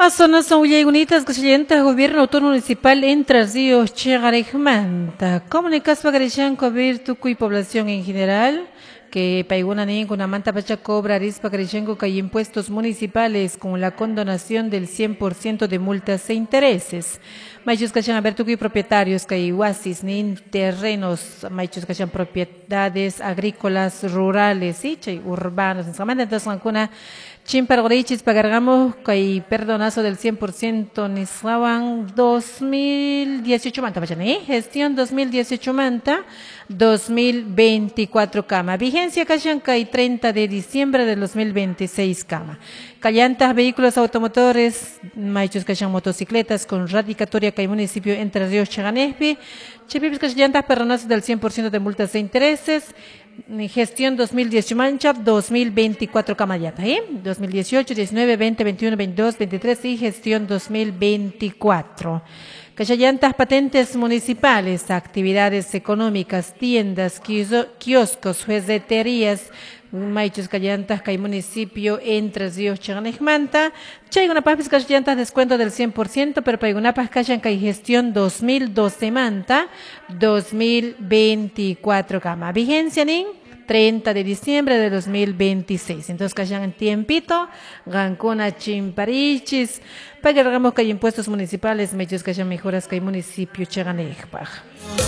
Zonas willaykunita llanta gobierno autónomo municipal Entre Ríos Chiqariqmanta. Comunicaspa karishanku tukuy población en general que paykuna nin kunamanta pacha cobrarispa karishanku kay impuestos municipales con la condonación del 100% de multas e intereses. Maychus kashan a ver tukuy propietarios kay wasis nin terrenos maychus kashan propiedades agrícolas rurales y chay urbanos entonces qankuna chimparqurichis pagarqamuq kay perdonazo del 100% nisqawan 2018 manta pacha ni gestión 2018 manta 2024 kama vigencia kashan kay 30 de diciembre del 2026 kama kallantas vehículos automotores maychus kashan motocicletas con radicatoria kay municipio Entre Ríos Chiqanejpi chaypipis kashallantas perdonazo del 100% de multas e intereses gestión 2018 mancha 2024 kamayata, ¿eh? 2018, 19, 20, 21, 22, 23 y gestión 2024. Kashallantas patentes municipales, actividades económicas, tiendas, kioscos, juezeterías, maychus kallantas kay municipio Entre Ríos Chiqanejmanta. Chaykunapaqpis kashallantas descuento del 100%, pero paykunapaq kashan kay gestión 2012 manta 2024 kama. Vigencia nin 30 de diciembre de 2026. Entonces, kashan tiempito, qankuna chimparichis, pagarqamuq kay impuestos municipales, maychus kashan mejoras kay municipio Chiqanejpaq.